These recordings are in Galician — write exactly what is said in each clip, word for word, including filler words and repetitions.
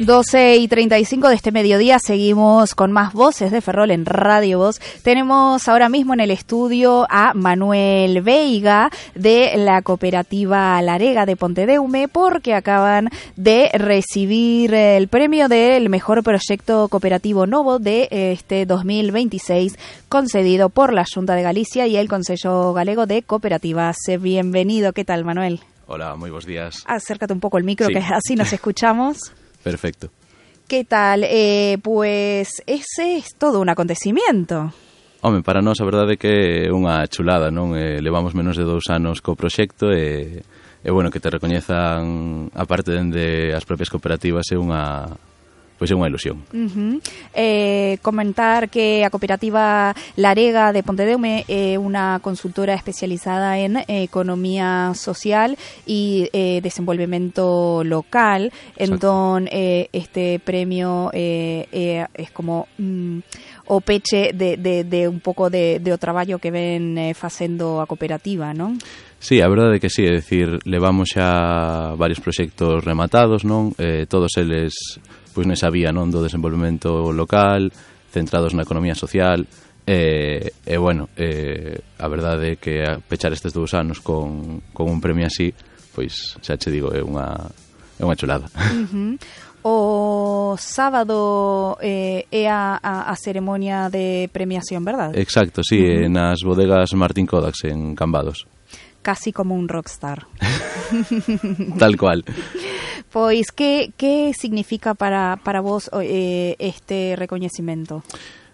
doce y treinta y cinco de este mediodía seguimos con más voces de Ferrol en Radio Voz. Tenemos ahora mismo en el estudio a Manuel Veiga de la cooperativa Larega de Pontedeume, porque acaban de recibir el premio del mejor proyecto cooperativo novo de este dos mil veintiséis, concedido por la Xunta de Galicia y el Consello Galego de Cooperativas. Bienvenido, ¿qué tal, Manuel? Hola, muy buenos días. Acércate un poco el micro, sí. que así nos escuchamos. Perfecto. ¿Qué tal? Eh, pues ese es todo un acontecimiento. Home, para nós a verdade é que é unha chulada, non? Eh, levamos menos de dous anos co proxecto e, e bueno, que te recoñezan a parte dende as propias cooperativas é unha... pois é unha ilusión. Uh-huh. Eh, comentar que a cooperativa Larega de Pontedeume é unha consultora especializada en eh, economía social e eh, desenvolvemento local. Entón, eh, este premio eh, eh, es como mm, o peche de, de, de un pouco de, de o traballo que ven eh, facendo a cooperativa, non? Sí, a verdade é que sí, é dicir, levamos xa varios proxectos rematados, non? Eh, todos eles pois nesa vía, non, do desenvolvemento local, centrados na economía social, e, e bueno, e, a verdade é que a pechar estes dous anos con, con un premio así, pois xa che digo, é unha, é unha chulada. Uh-huh. O sábado eh, é a, a, a ceremonia de premiación, verdad? Exacto, sí, uh-huh. Nas bodegas Martín Kodax en Cambados. Casi como un rockstar. Tal cual. Pois, que, que significa para, para vos eh, este recoñecimento?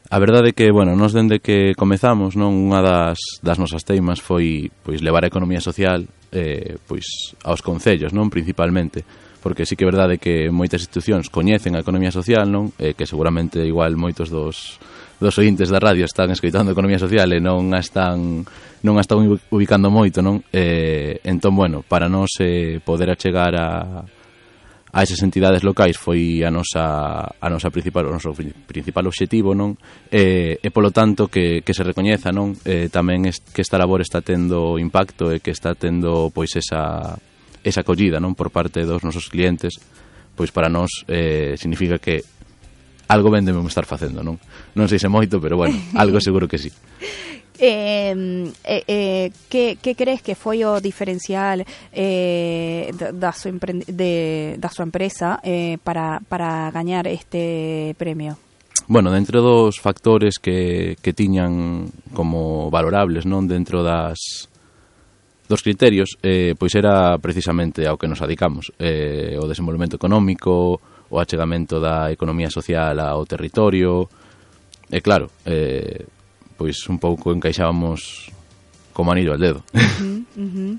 A verdade é que, bueno, nos dende que comezamos, non, unha das, das nosas teimas foi pois levar a economía social eh, pois aos concellos, non, principalmente, porque sí que é verdade que moitas institucións coñecen a economía social, non, eh, que seguramente igual moitos dos dos ointes da radio están escoitando economía social e non a están non a están ubicando moito, non? Eh, entón, bueno, para nós eh, poder achegar a a esas entidades locais foi a nosa a nosa principal o noso principal obxectivo, non? E, e polo tanto que, que se recoñeza, non? Eh, tamén es, que esta labor está tendo impacto e que está tendo pois esa esa acollida, non, por parte dos nosos clientes, pois para nós eh, significa que algo ben debemos estar facendo, non? Non sei se moito, pero bueno, algo seguro que sí. Eh, eh, eh, que, que crees que foi o diferencial eh, da, súa de, da súa empresa eh, para, para gañar este premio? Bueno, dentro dos factores que, que tiñan como valorables, non, dentro das dos criterios, eh, pois era precisamente ao que nos adicamos, eh, o desenvolvemento económico, o achegamento da economía social ao territorio, e claro, eh, pois un pouco encaixábamos como anillo al dedo. Uh-huh, uh-huh.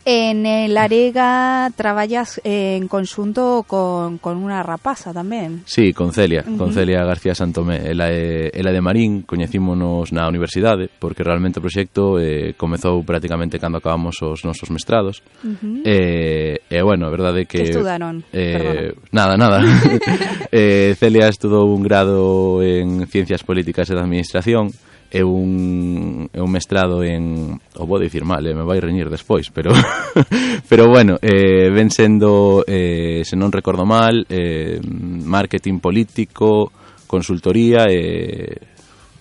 En el Larega traballas eh, en conxunto con, con unha rapaza tamén. Sí, con Celia, uh-huh. con Celia García Santomé. Ela é, ela é de Marín, coñecímonos na universidade, porque realmente o proxecto eh, comezou prácticamente cando acabamos os nosos mestrados. Uh-huh. E, e, bueno, a verdade é que... Que estudaron? Eh, nada, nada. eh, Celia estudou un grado en Ciencias Políticas e da Administración, é un, é un mestrado en... o vou dicir mal, eh, me vai reñir despois, pero pero bueno, eh, ven sendo, eh, se non recordo mal, eh, marketing político, consultoría e... Eh,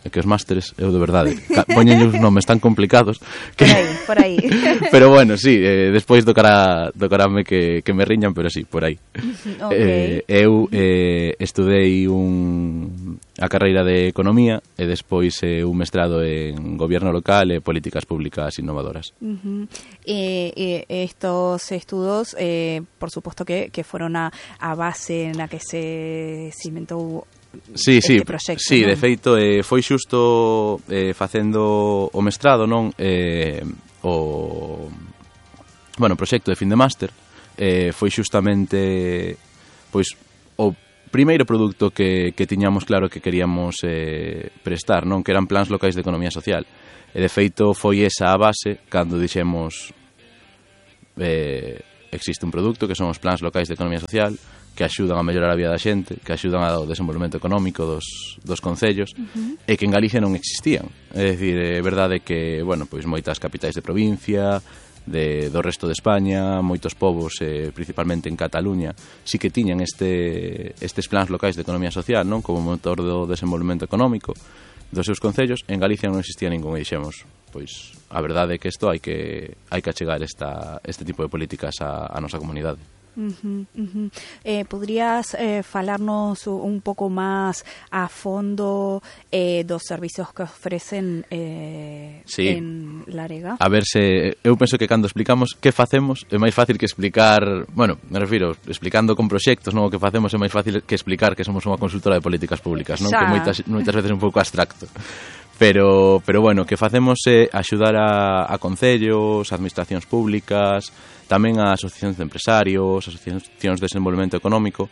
que os másteres, eu de verdade poñen os nomes tan complicados que... por aí, por aí. Pero bueno, sí, eh, despois tocará tocarame que, que me riñan, pero sí, por aí. Okay. Eh, eu eh, estudei un a carreira de Economía e despois eh, un mestrado en Gobierno Local e Políticas Públicas Innovadoras. Uh-huh. eh, eh, estos estudos, eh, por suposto que, que foron a, a base na que se cimentou Sí, este sí, proxecto, sí, non? de feito eh, foi xusto eh, facendo o mestrado, non, eh, o bueno, o proxecto de fin de máster eh, foi xustamente pois o primeiro produto que, que tiñamos claro que queríamos eh, prestar, non, que eran plans locais de economía social, e de feito foi esa a base cando dixemos eh, existe un produto que son os plans locais de economía social que axudan a mellorar a vida da xente, que axudan ao desenvolvemento económico dos, dos concellos, uh-huh. e que en Galicia non existían. É dicir, é verdade que, bueno, pois moitas capitais de provincia, de, do resto de España, moitos povos, eh, principalmente en Cataluña, sí que tiñan este, estes plans locais de economía social, non, como motor do desenvolvemento económico dos seus concellos. En Galicia non existía ningún, e dixemos, pois a verdade é que isto hai que hai que achegar esta, este tipo de políticas a, a nosa comunidade. Uh-huh, uh-huh. Eh, ¿Podrías eh, falarnos un pouco máis a fondo eh, dos servicios que ofrecen eh, sí. en Larega? A ver, se eu penso que cando explicamos que facemos é máis fácil que explicar, bueno, me refiro, explicando con proxectos, non, o que facemos é máis fácil que explicar que somos unha consultora de políticas públicas, non, Xa. que moitas, moitas veces é un pouco abstracto. Pero, pero bueno, que facemos é axudar a, a concellos, a administracións públicas, tamén a asociacións de empresarios, asociacións de desenvolvemento económico,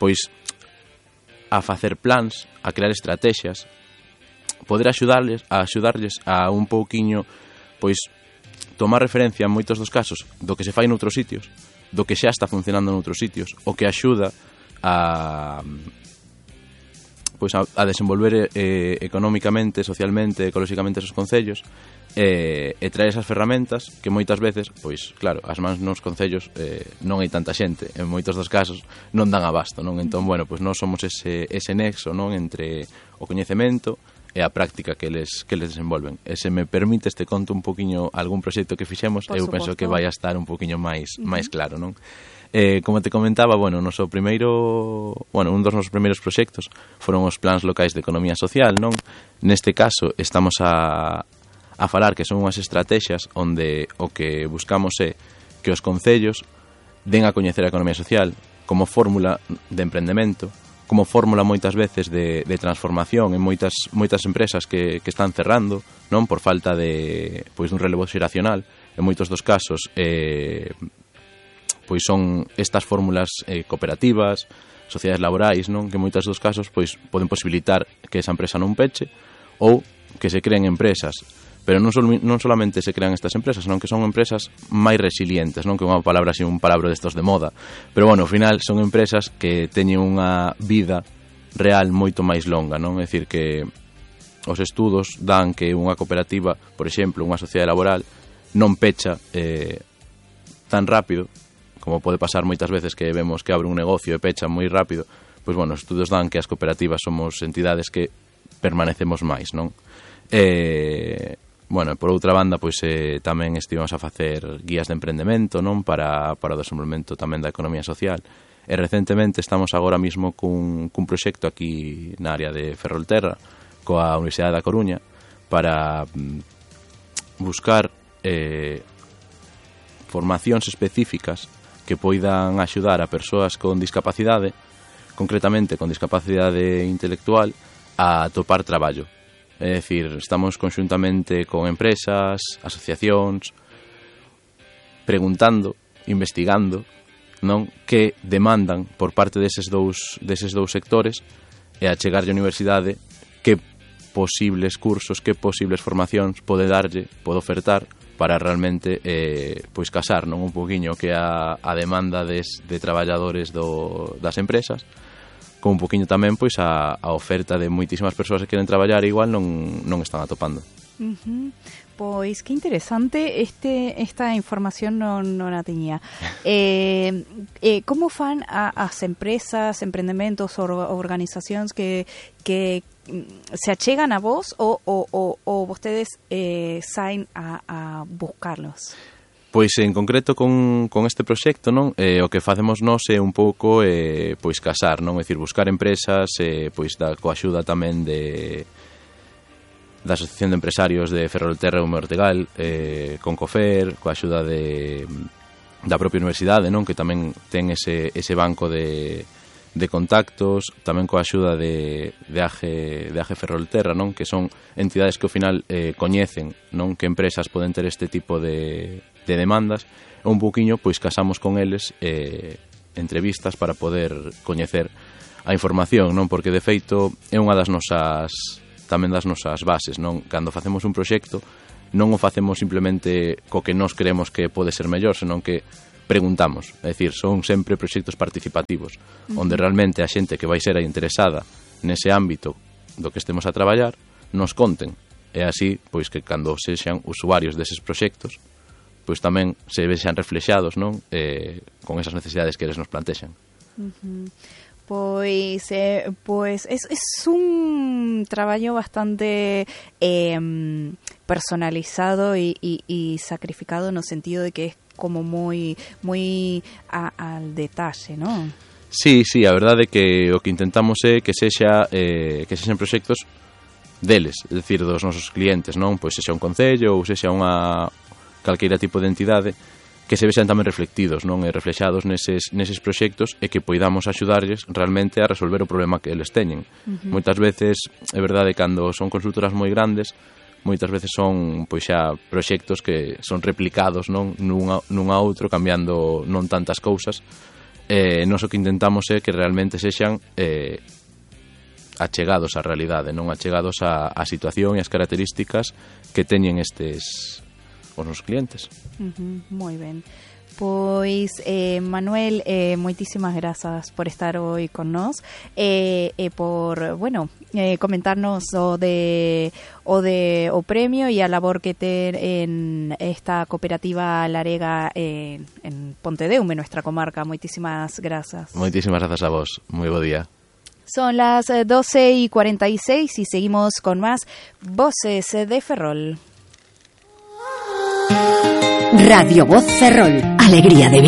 pois a facer plans, a crear estrategias, poder axudarles a axudarles a un pouquiño, pois tomar referencia en moitos dos casos do que se fai noutros sitios, do que xa está funcionando noutros sitios, o que axuda a pois a, a desenvolver eh, económicamente, socialmente, ecolóxicamente esos concellos, eh, e traer esas ferramentas que moitas veces, pois claro, as mans nos concellos eh, non hai tanta xente, en moitos dos casos non dan abasto, non? Entón, bueno, pois nós somos ese, ese nexo, non, entre o coñecemento e a práctica que les, que les desenvolven. E se me permite este conto un poquinho algún proxecto que fixemos, Por eu suposto. penso que vai a estar un poquinho máis, Uh-huh. máis claro, non? Eh, como te comentaba, bueno, noso primeiro, bueno, un dos nosos primeiros proxectos foron os plans locais de economía social, non? Neste caso estamos a, a falar que son unhas estrategias onde o que buscamos é que os concellos den a coñecer a economía social como fórmula de emprendemento, como fórmula moitas veces de, de transformación en moitas moitas empresas que, que están cerrando, non, por falta de, pois, dun relevo xeracional. En moitos dos casos eh, pois son estas fórmulas eh, cooperativas, sociedades laborais, non, que en moitos dos casos pois poden posibilitar que esa empresa non peche ou que se creen empresas, pero non, sol, non solamente se crean estas empresas, senón que son empresas máis resilientes, non, que é unha palabra así, un palabra destos de moda, pero bueno, ao final son empresas que teñen unha vida real moito máis longa, non? É dicir que os estudos dan que unha cooperativa, por exemplo, unha sociedade laboral non pecha eh, tan rápido como pode pasar moitas veces que vemos que abre un negocio e pecha moi rápido. Pois bueno, os estudos dan que as cooperativas somos entidades que permanecemos máis, non? E, bueno, por outra banda, pois eh, tamén estivemos a facer guías de emprendemento, non? Para, para o desenvolvemento tamén da economía social. E recentemente estamos agora mismo cun, cun proxecto aquí na área de Ferrolterra, coa Universidade da Coruña, para mm, buscar eh, formacións específicas que poidan axudar a persoas con discapacidade, concretamente con discapacidade intelectual, a topar traballo. É dicir, estamos conxuntamente con empresas, asociacións, preguntando, investigando, non, que demandan por parte deses dous, deses dous sectores e a chegarlle á universidade que posibles cursos, que posibles formacións pode darlle, pode ofertar para realmente eh, pois casar, non, un poquinho que a, a demanda des, de traballadores do, das empresas, con un poquinho tamén pois a, a oferta de moitísimas persoas que queren traballar e igual non, non están atopando. Uh-huh. Pois que interesante, este esta información non, non a tiña. Eh, eh, como fan a, as empresas, empreendementos ou organizacións que, que se achegan a vos ou, ou, ou, ou vostedes eh, saen a, a buscarlos? Pois en concreto con, con este proxecto, non, eh, o que facemos nós é un pouco eh, pois casar, non, é dicir, buscar empresas eh, pois da coaxuda tamén de da Asociación de Empresarios de Ferrolterra e Ume Ortegal, eh, con COFER, coa axuda de, da propia universidade, non, que tamén ten ese, ese banco de, de contactos, tamén coa axuda de, de, Age, de Age Ferrolterra, non, que son entidades que ao final eh, coñecen, non, que empresas poden ter este tipo de, de demandas, e un poquinho pois casamos con eles eh, entrevistas para poder coñecer a información, non, porque de feito é unha das nosas tamén das nosas bases, non? Cando facemos un proxecto non o facemos simplemente co que nós creemos que pode ser mellor, senón que preguntamos, é dicir, son sempre proxectos participativos, uh-huh. onde realmente a xente que vai ser a interesada nese ámbito do que estemos a traballar nos conten, e así, pois que cando sexan usuarios deses proxectos, pois tamén se vexan reflexados, non? Eh, con esas necesidades que eles nos plantexan. Uh-huh. Pois, eh, pois es, es un traballo bastante eh, personalizado e, e, e sacrificado no sentido de que es como moi moi a, al detalle, non? Sí, sí, a verdade é que o que intentamos é que sexa eh, que sexan proxectos deles, é dicir, dos nosos clientes, non? Pois sexa un concello ou sexa unha calqueira tipo de entidade que se vexan tamén reflectidos, non? E reflexados neses, neses proxectos e que poidamos axudarlles realmente a resolver o problema que eles teñen. Uh-huh. Moitas veces, é verdade, cando son consultoras moi grandes, moitas veces son pois xa proxectos que son replicados, non? Nunha, nunha outro, cambiando non tantas cousas. Eh, nos o que intentamos é que realmente sexan eh, achegados á realidade, non achegados á, á situación e as características que teñen estes os nosos clientes. Uh-huh, moi ben. Pois, eh, Manuel, eh, moitísimas grazas por estar hoy con nós e eh, eh, por, bueno, eh, comentarnos o de o de o premio e a labor que ten en esta cooperativa Larega eh, en Pontedeume, nuestra comarca. Moitísimas grazas. Moitísimas grazas a vos. Moi bo día. Son las doce y cuarenta y seis y seguimos con más Voces de Ferrol. Radio Voz Ferrol, alegría de vivir.